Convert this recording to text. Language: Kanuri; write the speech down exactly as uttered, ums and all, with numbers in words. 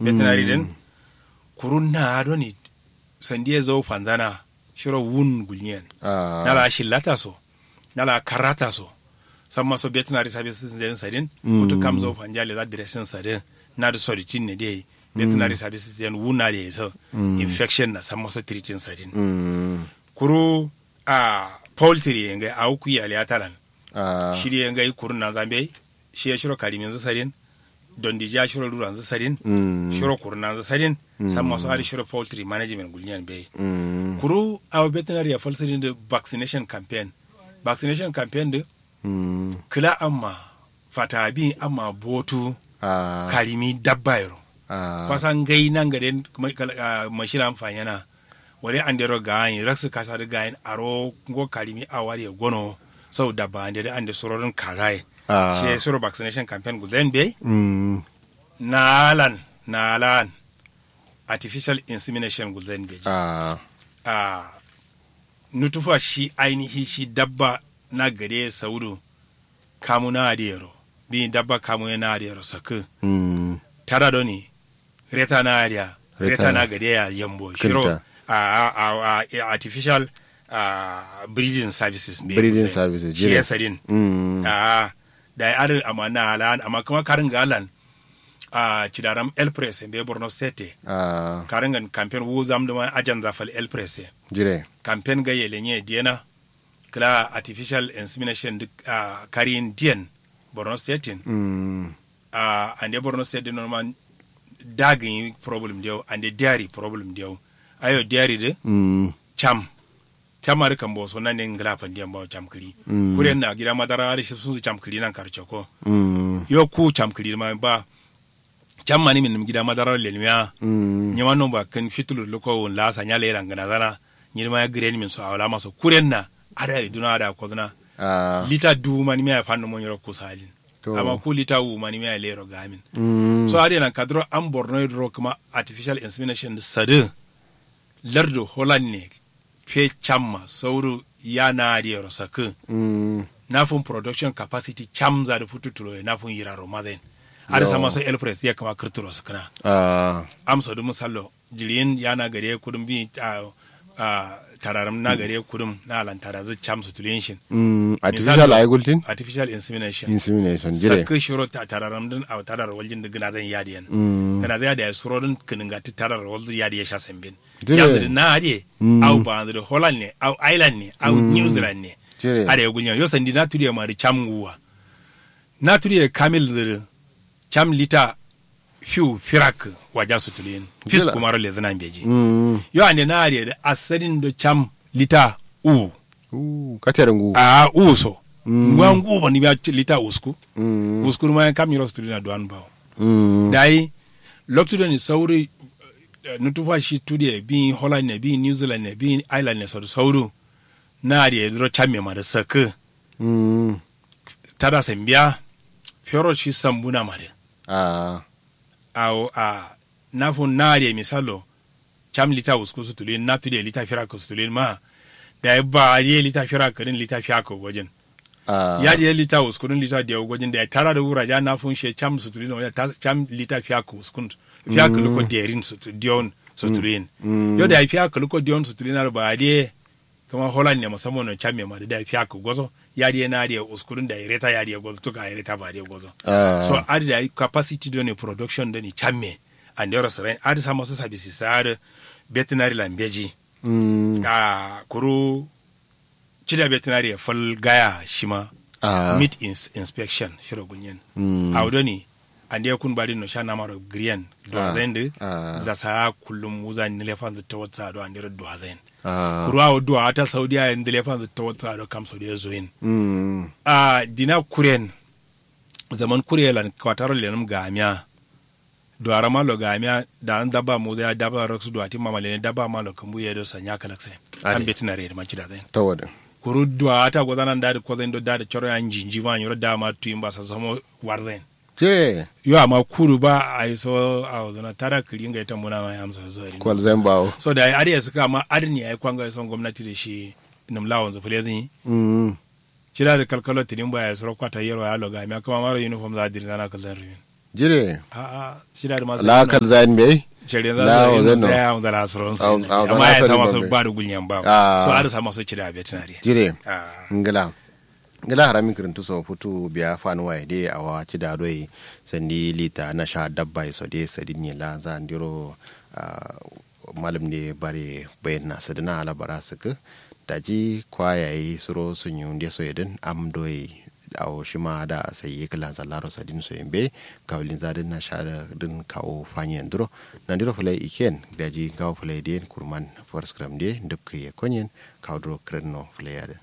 Veterinary din kuru na doni sandi ye zau fanzana shiro wun gulnyen. Na la shillata so, na la karata so, samma so veterinary services din sadin. Kutu kam zau fanja le za dressing sadin. Na du soditin ne dai veterinary services din wuna de so infection na samma so treating sadin. Kuru a poultry ye ngai awu kuyi aliyatalan. Shiri ye ngai kurun nanza mbeyi. Shi ye shiro kariminzu sadin. Dondiji a shiro luranzu sadin. Shiro kurun nanzu sadin. Samma so adi shiro poultry management gulnyen mbeyi. Kuru awo veterinary ya fal sadin du vaccination campaign. Vaccination campaign du kla amma fata bin amma botu karimi dabba yero. Kwasa ngai nangade mashila amfanyena. Wale andero gayin raksu kasa du gayin aro ngo karimi awari ye gono. Sau dabba ande du ande surodun kazaye. Shi ye suro vaccination campaign gulzain beyi. Nalan nalan artificial insemination gulzain beji. Nutufa shi ainihi shi dabba na gade saudu kamu na adiyero. Bi dabba kamu ye na adiyero sakku. Tada doni reta na adiya reta na gade ya yambo shiro. A artificial breeding services be breeding services shi ya sadin. A da ya adin amma na alan amma kuma karin ga alan. A cidaram elpres be borno state. Karin ga campaign wu zam duma ajan zafal elpres. Jire campaign ga yelenye diyana kla artificial insemination duk a kariyin diyan borno state in. A ande borno state din normal dagin problem diyau ande diary problem diyau. Ayo diary di cam cam mari kambo so nan ne ngla fandi yamba cam kiri. Kuren na gida madara da shi sun cam kiri nan karce ko. Yo ku cam kiri ma ba cam mani min gida madara lelmiya. Nyama non ba kan fitulu luko won la sanya le rangana zana. Nyirma ya giren min so awla maso kuren na ada iduna ada kodna. Lita du mani miya fanno mo nyoro kusalin. Amma ku lita wu mani miya lero gamin. So ade nan kadro an borno dro kuma artificial insemination sadu lardo holland ne. Fe camma sauru ya na adiyero sakku. Nafun production capacity camza da futu tulo ya nafun yiraro mazain. Ada sama so elpres ya kama kirturo sakkuna. Amso du misallo jiriyin ya na gare kudum bi. Tararam na gare kudum na alan tarazu camsu tuliyin shin. Artificial ayi gultin artificial insemination. Insemination jire sakku shiro tararam din au tarar waljin da gina zan yadiyan. Gina zan yadiyan suro din kiningati tarar waljin yadiyan sha sambin. Yanzu da na adiye au ba yanzu da holland ne au island ne au new zealand ne. Ada ya gulyan yo sandi na tudiya ma da cam nguwa. Na tudiya kamil zuru cam lita fiu firak waja sutulin. Fis kumaro lezuna mbeji. Yo ande na adiye da asadin do cam lita u. Katere ngu a u so. Ngwa ngu bani biya lita usku. Usku ma kam yiro sutulin a duwan bawo. Dai loktu doni sauri nutufa shi tudiye bi holland ne bi new zealand ne bi island ne sauri. Na adiye duro cam me ma da sakku. Tada sambiya fero shi sambuna ma da. Awo a nafun na adiye misalo. Cam lita usku sutulin na tudiye lita firak sutulin ma. Dayi ba adiye lita firak din lita fiyak gojin. Yadiye lita usku din lita diyo gojin dayi tara da wura ja nafun she cam sutulin wala cam lita fiyak uskun. Fiyak luko derin sutulin. Yo dayi fiyak luko derin sutulin ar ba adiye. Kuma holland ne musamman no camme ma da fiya ku gozo. Yadiye na diye uskurun da ireta yadiye gozo tuka ireta ba diye gozo. So adi da capacity do ne production do ne camme. Andero sarain adi sama so sabisi sa'ad. Veterinary la mbeji. Kuru cida veterinary ya fal gaya shima. Meat inspection shiro gulnyen. Awo do ne. Ande kun badin no sha namaro griyan. Duwazain di. Zasa kullum wuza nile fanzu tawatsa do andero duwazain. Kuru awo duwa ata saudiya ye ndile fanzu tawatsa do kam saudiya zoyin. Ahh dina kuren. Zaman kure lan kwataro lenum gamiya. Duwara malo gamiya. Da'an dabba muza ya dabba raksu duwa timma malene dabba malo kambu ye do sanya kalakse. Am betinare ye dima cidazain. Kuru duwa ata gozana ndadi kozain do dadi coro ya njinji ma nyiro dama tuyin ba sasomo. Warzain. Yo amma kudu ba aiso awozuna tada kǝli ngai tambuna ma yamsa so. Kwalzain bawo. So dayi adǝ ye sǝkka amma adǝ ne yayi kwanga ye son gomnati dǝ shi. Nǝm lawonzǝ fǝlezǝ nyi. Cida dǝ kalkalo tǝdin ba yayi suro kwata yerwa ya lo gamiya kǝma maro uniform za dǝ dǝ zana kǝlzan rumin. Jire. A'a, cida dǝ ma la kalzayin bai. Cere za la su yin ozai no. Zai ya amza la suron su. Amma ya sama so ba dǝ gulnyen ba. So adǝ sama so cida betinari. Jire. Ngla. Ngla haramin kǝrintu so futu biya fanuwa ye de awa cida doi. Sandi lita na sha dabba ye so de sadin ye la zandiro. Malum ne bare bayin na sadina ala bara sǝkǝ. Daji kwa yayi suro sunyu nde so yedin am doi. Awo shima da sayi kǝlan sallaro sadin so yembe. Kawulin zadin na sha din kawo fanyen duro. Nandiro fǝlai iken daji ngawo fǝlai den kurman. Forskram de ndǝpkǝ ye konyen. Kawo duro kǝrinno fǝlai yadin.